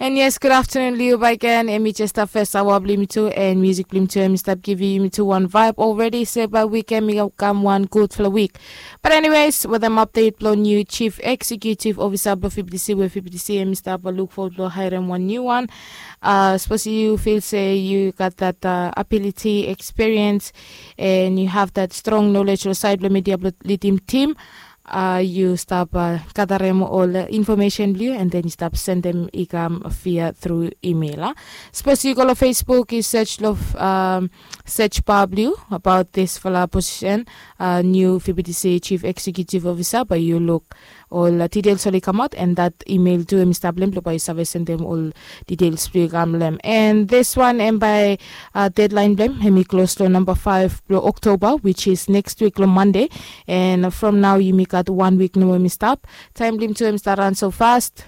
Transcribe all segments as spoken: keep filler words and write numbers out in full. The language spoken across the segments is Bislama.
And yes, good afternoon, Liu Baiken. Em i jes stap fes awa blong yumi tu, and music blong yumi tu, em i stap givim yumi tu wan vibe already. So by weekend, mi kam wan gudfala week. But anyways, wetem update blong new chief executive officer blong V B T C, we V B T C em i stap look forward blong hairem wan new one. Uh, suppose you feel say you got that uh, ability, experience, and you have that strong knowledge lo side blong media blong leading team, uh, yu stap uh, gadarem ol information blong yu, and then yu stap sendem i kam via through email. Uh. Suppose you go lo Facebook, you search lo um, search bar blong yu about this fala position, uh, new V B T C chief executive officer, but you look ol uh, details oli kamaot, and that email tu em i stap long em blong bae yu save sendem ol details blong yu kam long em. And this one em bae uh, deadline blong em em i close lo number five blong October, which is next week lo Monday. And from now yumi gat one week nomo em i stap. Taem blong yumi tu em i stap ran so fast.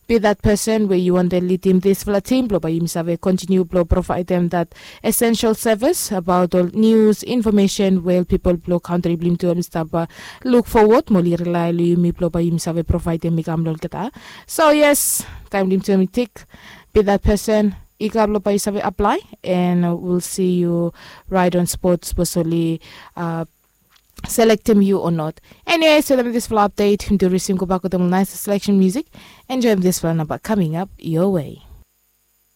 Be that person we yu wantem leadim disfala team blong bae yumi save continue blong providem that essential service about ol news, information we ol pipol blong kantri blong yumi tu em i stap uh, look forward mo oli rely long yumi blong bae yumi save providem i kam long olgeta. So yes, taem blong yumi tu em i tik. Be that person, i kam blong bae yu save apply, and uh, we'll see you right on spot, suppose oli uh, selectem yu or not. Anyways, wetem disfala update, yumi tu risim gobak wetem ol nice selection music. Enjoyem disfala namba coming up your way.